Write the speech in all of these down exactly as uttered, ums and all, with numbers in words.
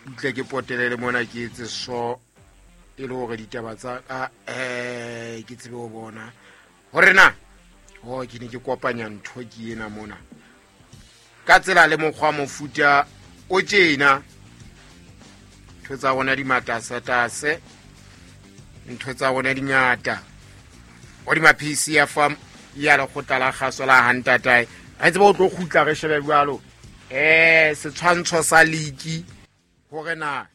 Utle ke potelele mona ke etse so e le hore ditaba tsa ka eh ke tsebe ho bona hore na oh ke ne ke kopanya ntho ke ena mona ka tsela le mokgwa mofuta o tjena. Ntho tsa rona di matasatase, ntho tsa rona di ngata. Hodima P C F M ya lekgotla la kgaso la Hantatae re tsebe o tlo kgutla re shebe jwalo eh setshwantsho sa league hore na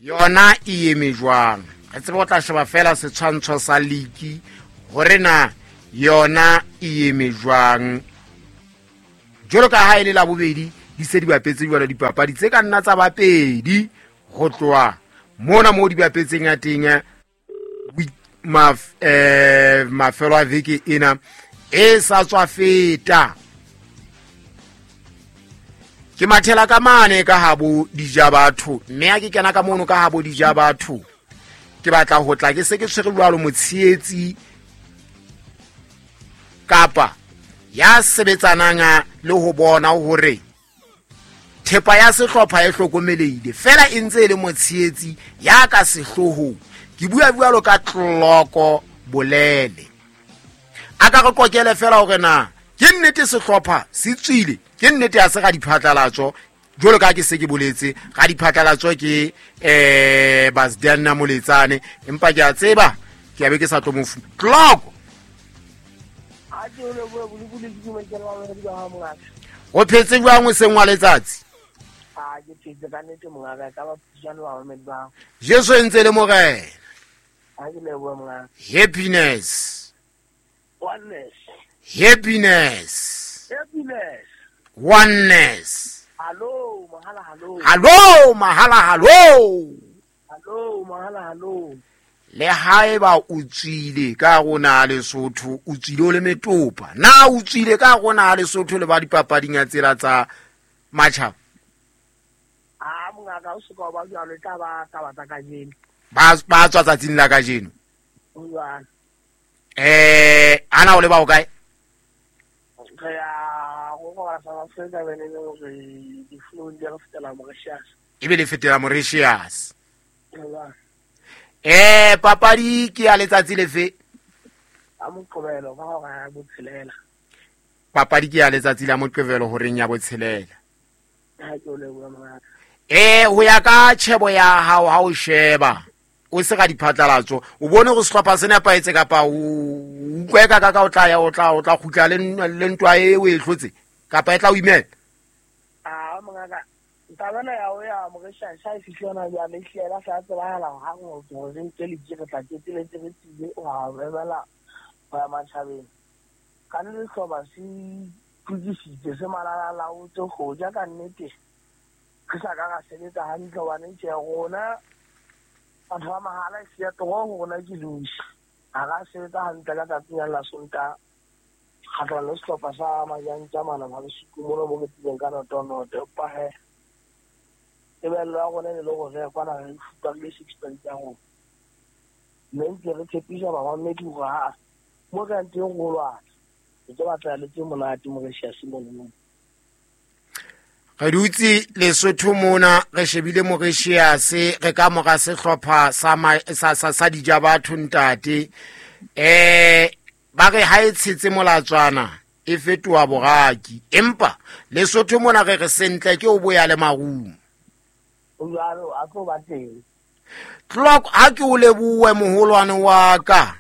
yona e eme jwang. Re tsebe o tla sheba fela setshwantsho sa league hore na yona e eme jwang. Jwalo ka ha e le la bobedi di se di bapetse jwalo dipapadi tse ka nna tsa bapedi ho tloha mona moo di bapetseng ya teng maf eh mafelo a veke ena e sa tswa feta. Ke mathela ka mane ka habo dija batho, mme ha ke kena ka mono ka habo dija batho ke batla ho tla ke se ke tshwere jwalo motshehetsi kapa ya sebetsanang le ho bona hore thepa ya sehlopha e hlokomelehile fela e ntse e le motshehetsi ya ka sehloohong. Ke bua jwalo ka Tloko Bolele. A ka re kokele fela hore na ke nnete sehlopha se tswile, ke nnete ya se ga diphatlalatso jwalo ka ke se ke boletse ga diphatlalatso ke eh Basdiana Moletsane, empa ke a tseba ke a be ke sa tlo mofu. Tloko o phetse jwang o seng wa letsatsi? A ke phetse ka nnete mongaka, ka ba phutjana wa mamedi ba. Jesu e ntse le morena. Ha ke leboha mongaka. Happiness. Oneness. Happiness. Happiness. Oneness. Hallo, mahala hallo. Hallo, mahala hallo. Hallo, mahala hallo. Le haeba o tswile ka rona Lesotho, o tswile o le metopa. Na o tswile ka rona Lesotho le ba dipapading ya tsela tsa matjhaba? Ah, mongaka o se ka ba jwalo, e tla ba taba tsa kajeno. Ba ba tswa tsatsing la kajeno. Jwang? Eh, ana o le ba o kae? Re ya go go South Africa bene le hore di flow di re fetela Mauritius. Ebe le fetela Mauritius. Jwang? Eh, papadi ke ya letsatsi lefe? A Moqebelo ka hora ya botshelela. Papadi ke ya letsatsi la Moqebelo horeng ya botshelela. Ha ke o leboha mongaka. Eh, ho ya ka tjhebo ya hao ha o sheba o se ga diphatlalatso o bone go sehlopha se nepahetse kapa o utlwe ka ka o tla ya o tla o tla kgutla le le ntwa e o e hlotse kapa e tla o imela? Ah, mongaka taba ena ya ho ya Mauritius ha e fihle hona jwale, e hlile ya sa tsebahala hang hore re nke league re tla keteletse re tsile ho emela ho ya matjhabeng. Ka nnete sehlopha se itukisitse se malalalaotse ho ja ka nnete re sa ka ra sebetsa hantle hobane tje rona batho ba mahala e siya toro ho rona ke loose. Ha ra sebetsa hantle ka tsatsing la Sontaha kgahlano le sehlopha sa Majantja mana ba Lesotho mono mo re tsileng ka noto-noto. Empa he tebello ya rona e ne le hore re ya kwana re fupare six points ya rona. Mme ntse re tshepisa bamamedi hore ha mo re yang teng ho lwana, re tlo batla le tse monate Mauritius mono. Re dutse Lesotho mona re shebile Mauritius re ka mora sehlopha sa sa sa, sa dija batho ntate. Eh ba re ha e tshetse molatswana e fetoha boraki, empa Lesotho mona re re sentle ke o boya le marumo. O jwalo a tlo ba teng. Tloko ha ke o lebohe moholwane wa ka.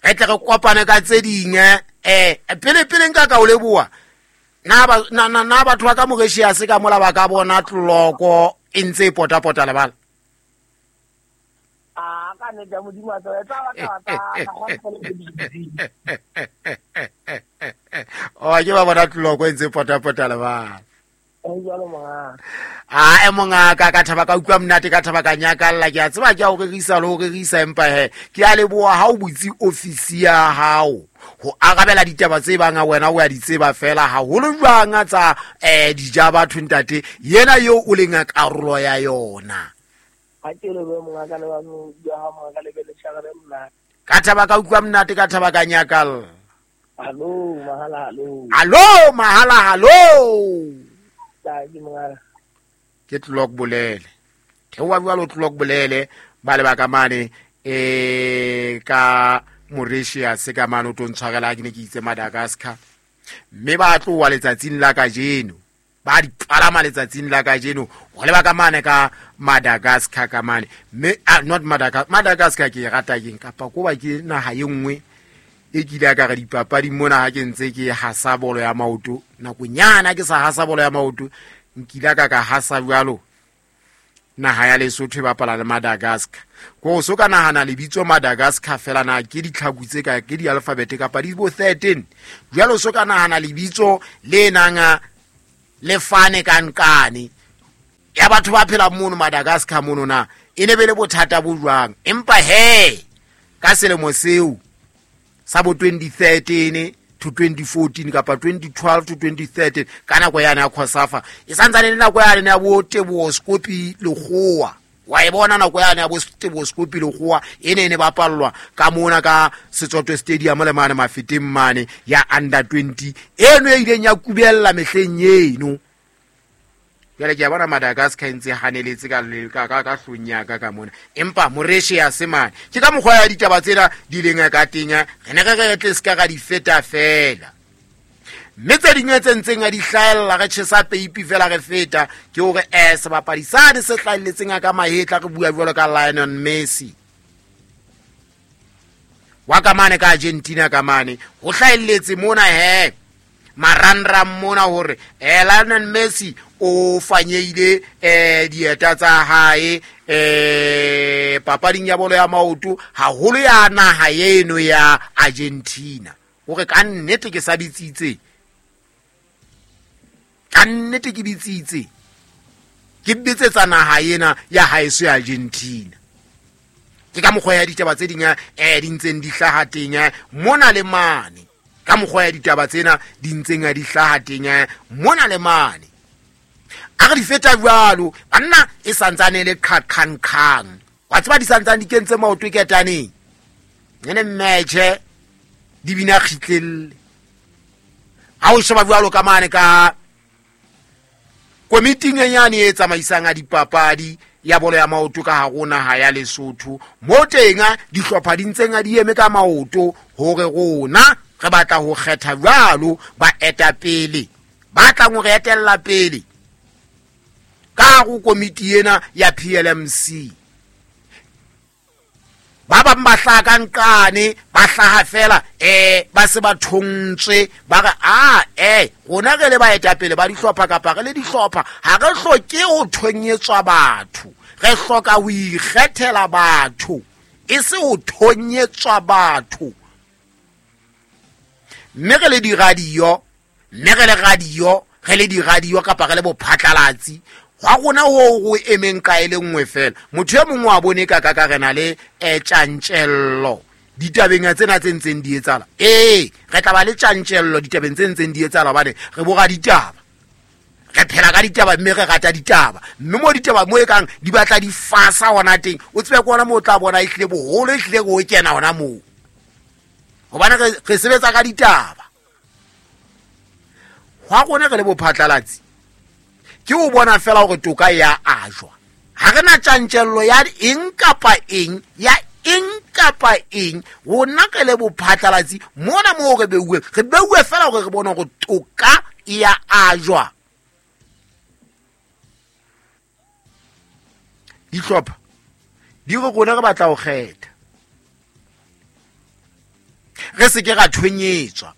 Re tle re kopane ka tse ding eh pele pele nka ka o leboha. Na ba na na batho ba ka Mauritius ka mola ba ka bona Tloko e ntse e potapota lebala. Ah, ka nnete ya Modimo a tseba, e tla ba taba tsa go Oh, ke ba bona Tloko e ntse e potapota lebala. Jwalo mongaka. Ah, e mongaka ka thaba ka utlwa monate ka thaba ka nyakalla ke a tseba ke a o rerisa le ho rerisa empa he ke a leboha ha o butse ofisi ya hao ho arabela ditaba tse bang a wena o ya di tseba fela haholo jwang tsa eh dija batho ntate yena eo o leng a karolo ya yona. Ha ke lebohe mongaka le ba ya ha mongaka le be le tshwarele monate. Ka thaba ka utlwa monate ka thaba ka nyakalla. Hallo mahala hallo. Hallo mahala hallo. Ke Ke Tloko Bolele. Theoha jwalo Clock Bolele ba le ba ka mane eh ka Mauritius ka mane o tlo ntshwarela ke ne ke itse Madagascar. Mme ba tloha letsatsing la kajeno, ba di palama letsatsing la kajeno ho leba ka mane ka Madagascar ka mane. Mme ah, not Madagascar, Madagascar ke e rata keng kapa ko ba ke naha e nngwe e kile ka re dipapadi mona ha ke ntse ke hasa bolo ya maoto nakonyana ke sa hasa bolo ya maoto nkile ka ka hasa jwalo naha ya Lesotho e bapala le Madagascar. Ko so ka nahana lebitso Madagascar fela na ke ditlhaku tse ka ke di-alphabet kapa di bo thirteen. Jwalo so ka nahana lebitso le nang le fane ka nkane ya batho ba phela mono Madagascar mono na e ne be le bothata bo jwang. Empa he ka selemo seo sa bo twenty thirteen to twenty fourteen kapa twenty twelve to twenty thirteen ka nako yane ya Khosafa e santsane le nako yane ya bo Teboho Skopi Lekgowa. Wa e bona nako yane ya bo Teboho Skopi Lekgowa e ne e ne bapallwa ka mona ka Setsoto Stadium le mane Mafeteng mane ya under twenty eno e ileng ya kubella mehleng eno. Jwale ke a bona Madagascar e ntse haneletse ka ka ka ka hlong ya ka ka mona. Empa Mauritius mane ke ka mokgwa ya ditaba tsena di leng ka teng re ne re re tle ska ra di feta fela. Mme tse dingwe tse ntseng a di hlahella re tjhesa peipi fela re feta ke hore eh sebapadi sane se hlahelletseng ka mahetla re bua jwalo ka Lionel Messi wa ka mane ka Argentina ka mane ho hlahelletse mona he marangrang mona hore eh Lionel Messi o fanyeile eh dieta tsa hae eh papading ya bolo ya maoto haholo ya naha eno ya Argentina. Hore ka nnete ke sa bitsitse, ka nnete ke bitsitse ke bitsetsa naha ena ya haeso ya Argentina. Ke ka mokgwa ya ditaba tse ding eh di ntseng di hlaha teng mona le mane. Ka mokgwa ya ditaba tsena di ntseng di hlaha teng mona le mane. A re di feta jwalo banna e santsane le qhaqhang khang wa tseba di santsane di kentse maoto ketaneng ene mmetjhe di bina kgitlelle. Ha o sheba jwalo ka mane ka komiting e nyane e tsamaisang a dipapadi ya bolo ya maoto ka hare naha ya Lesotho mo teng dihlopha di ntseng di eme ka maoto hore rona re batla ho kgetha jwalo baetapele ba tlang ho re etella pele ka go komiti ena ya P L M C. Ba bang ba hlaha ka nqane ba hlaha fela eh ba se ba thontswe ba re a eh rona re le baetapele ba dihlopha kapa re le dihlopha ha re hloke ho thonyetswa batho, re hloka ho ikgethela batho e se ho thonyetswa batho. Mme re le diradio, mme re le radio, re le diradio kapa re le bophatlalatsi hwa rona ho ho emeng ka e le nngwe fela. Motho e mongwe wa bone ka ka ka re na le eh tjantjello ditabeng tsena tse ntseng di etsahala. Ee, re tla ba le tjantjello ditabeng tse ntseng di etsahala hobane re bora ditaba, re phela ka ditaba mme re rata ditaba. Mme mo ditaba mo e kang di batla di fasa hona teng o tsebe ke hona moo o tla bona ehlile boholo ehlile ho kena hona moo hobane re re sebetsa ka ditaba. Hwa rona re le bophatlalatsi ke o bona fela hore toka ya ajwa. Ha re na tjantjello ya eng kapa eng ya eng kapa eng. Rona re le bophatlalatsi mona moo re beuwe re beuwe fela hore re bone hore toka ya ajwa. Dihlopha di re rona re batla ho kgetha, re se ke ra thonyetswa.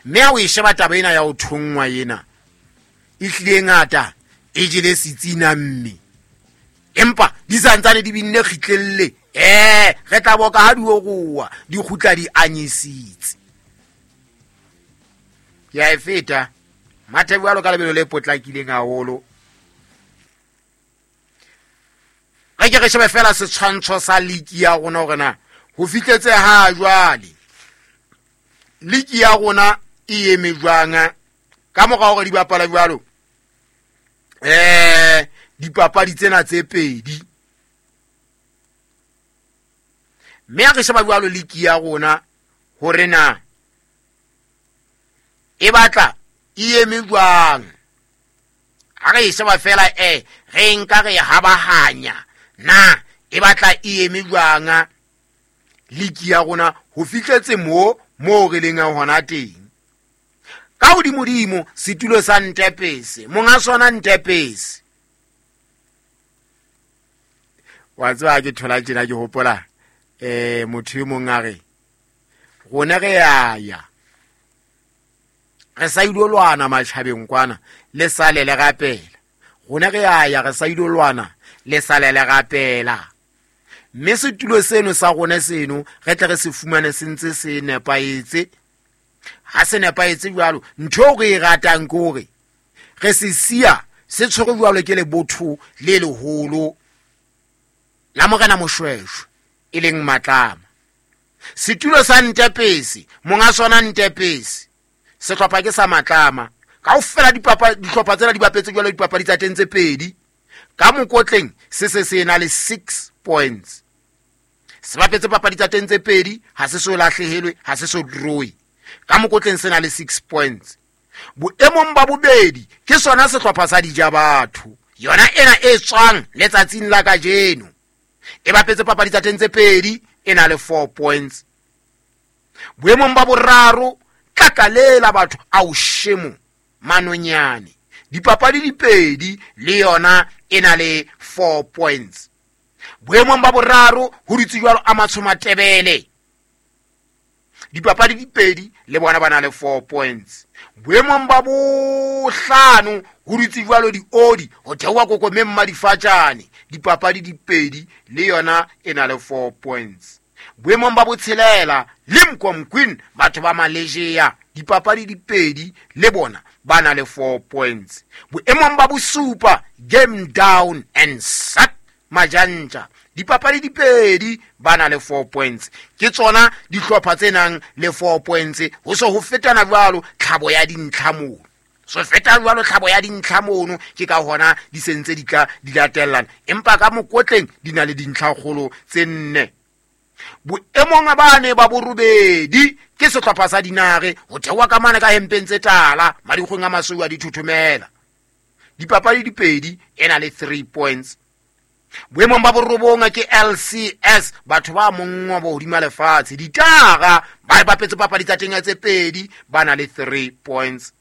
Mme ha o e sheba taba ena ya ho thonngwa ena e hlile ngata e jele setsina mme empa di santsane di binne kgitlelle eh re tla boka ha di oroa di kgutla di anyisitse. Ke a e feta mathe jwalo ka lebelo le potlakileng haholo. Re ke re shebe fela setshwantsho sa liki ya rona hore na ho fihletse ha jwale liki ya rona e eme jwang ka mora hore di bapala jwalo eh dipapadi tsena tse pedi. Mme ha re sheba jwalo liki ya rona hore na e batla e eme jwang. Ha re e sheba fela eh re nka re habahanya na e batla e eme jwang liki ya rona ho fihletse mo mo re leng hona teng. Ka hodimodimo setulo sa Ntepese, monga sona Ntepese. Wa tseba ke thola tjena ke hopola eh motho e mong a re rona re ya ya re sa ilo lwana matjhabeng kwana le sale le rapela. Rona re ya ya re sa ilo lwana le sale le rapela. Mme setulo seno sa rona seno re tle re se fumane se ntse se nepahetse. Ha se nepahetse jwalo, ntho re e ratang ke hore re se siya se tshwere jwalo ke lebotho le leholo la Morena Moshweshwe e leng Matlama. Setulo sa Ntepese, monga sona Ntepese, sehlopha ke sa Matlama. Kaofela dipapa dihlopha tsena di bapetse jwalo dipapadi tsa teng tse pedi. Ka mokotleng se se se na le six points. Se bapetse papadi tsa teng tse pedi, ha se so lahlehelwe, ha se so draw. Ka mokotleng se na le six points. Boemong ba bobedi ke sona sehlopha sa Dijabatho, yona ena e tswang letsatsing la kajeno. E bapetse papadi tsa teng tse pedi, e na le four points. Boemong ba boraro tlakalela batho ao shemo manonyane, dipapadi di pedi le yona e na le four points. Boemong ba boraro ho dutse jwalo a Matshomatebele, dipapadi di pedi le bona ba na le four points. Boemong ba bohlano ho dutse jwalo diodi ho theoha kokomeng madifatjane, dipapadi di pedi le yona e na le four points. Boemong ba botshelela Limkom Queen batho ba Malaysia, dipapadi di pedi le bona ba na le four points. Boemong ba bosupa Game Down and Sack Majanja, dipapadi di pedi ba na le four points. Ke tsona dihlopha tse nang le four points. Ho so ho fetana jwalo tlhabo ya dintlha mono, so feta jwalo tlhabo ya dintlha mono, ke ka hona di sentse di tla di latellana, empa ka mokotleng di na le dintlha kgolo tse nne. Boemong ba ne ba borobedi ke sehlopha sa Dinare ho theoha ka mane ka hempeng tse tala madikgweng a masweu a dithuthumela, dipapadi di pedi e na le three points. Boemong ba borobong ke L C S batho ba monngwa bo hodima lefatshe, ditara ba bapetse papadi tsa teng tse pedi ba na le three points.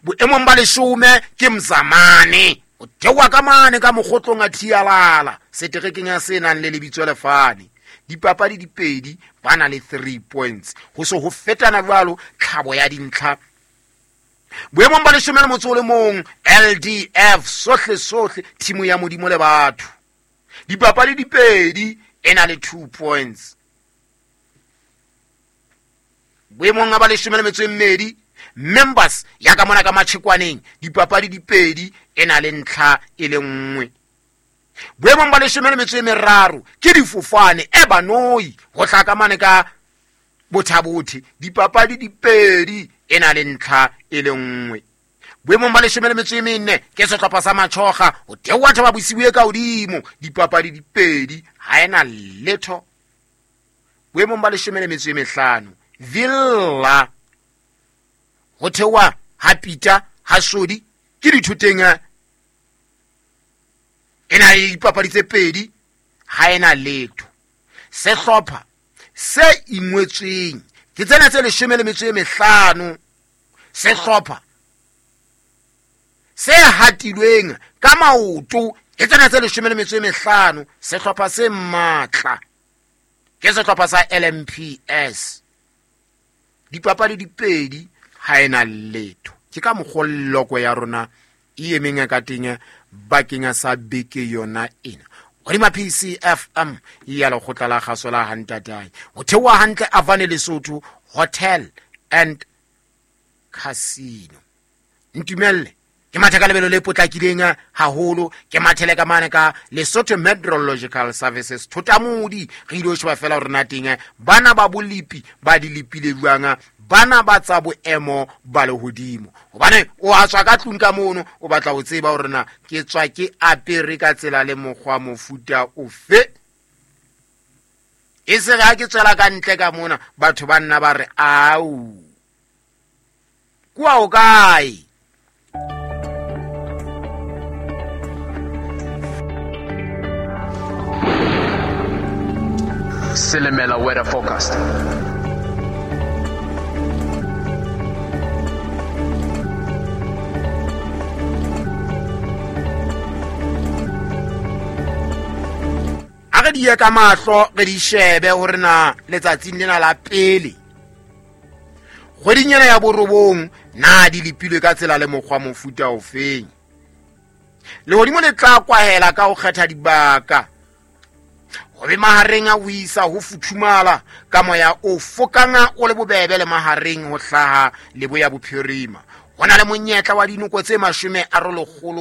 Boemong ba leshome ke Mzamane o theoha ka mane ka mokgotlong a Thialala seterekeng ya se nang le lebitso lefane, dipapadi di pedi ba na le three points. Ho so ho fetana jwalo tlhabo ya dintlha. Boemong ba leshome le motso o le mong L D F sohle sohle timu ya Modimo le batho, dipapadi di pedi e na le two points. Boemong ba leshome le metso e mmedi Members ya ka mona ka Matshekwaneng, dipapadi di pedi e na le ntlha e le nngwe. Boemong ba leshome le metso e meraro ke Difofane e Banoi ho tla ka mane ka Bothabothe, dipapadi di pedi e na le ntlha e le nngwe. Boemong ba leshome le metso e mene ke sehlopha sa Matshoga ho theoha Thaba Bosiu e ka hodimo, dipapadi di pedi ha ena letho. Boemong ba leshome le metso e mehlano Villa ho theoha ha Peter ha Sodi ke dithoteng e na le dipapadi tse pedi ha ena letho. Sehlopha se ingwetsweng ke tsena tse leshome le metso e mehlano, sehlopha se hatilweng ka maoto ke tsena tse leshome le metso e mehlano, sehlopha se matla ke sehlopha sa L M P S, dipapadi di pedi ha ena letho. Ke ka mokgwa ya rona e emeng ka teng bakeng sa beke yona ena. Hodima P C F M ya lekgotla la kgaso la Hantatai ho theoha hantle Avane Lesotho Hotel and Casino. Ntumelle ke mathe ka lebelo le potlakileng haholo, ke mathele ka mane ka Lesotho Meteorological Services Thotamodi. Re ile ho sheba fela hore na teng bana ba bolipi ba di lepile jwang, bana ba tsa boemo ba lehodimo, hobane o a tswa ka tlung ka mono o batla ho tseba hore na ke tswa ke apere ka tsela le mokgwa mofuta ofe. E se ha ke tswela ka ntle ka mona batho ba nna ba re au kwa o kae. Silimela weather forecast. A re di ye ka mahlo re di shebe hore na letsatsing lena la pele kgweding ena ya borobong na di lepilwe ka tsela le mokgwa mofuta ofeng. Lehodimo le tla kwahela ka ho kgetha dibaka ho be mahareng a ho isa ho futhumala ka moya o fokang o le bobebe le mahareng ho hlaha leboya bophirima. Ho na le monyetla wa dinoko tse mashome a lekgolo.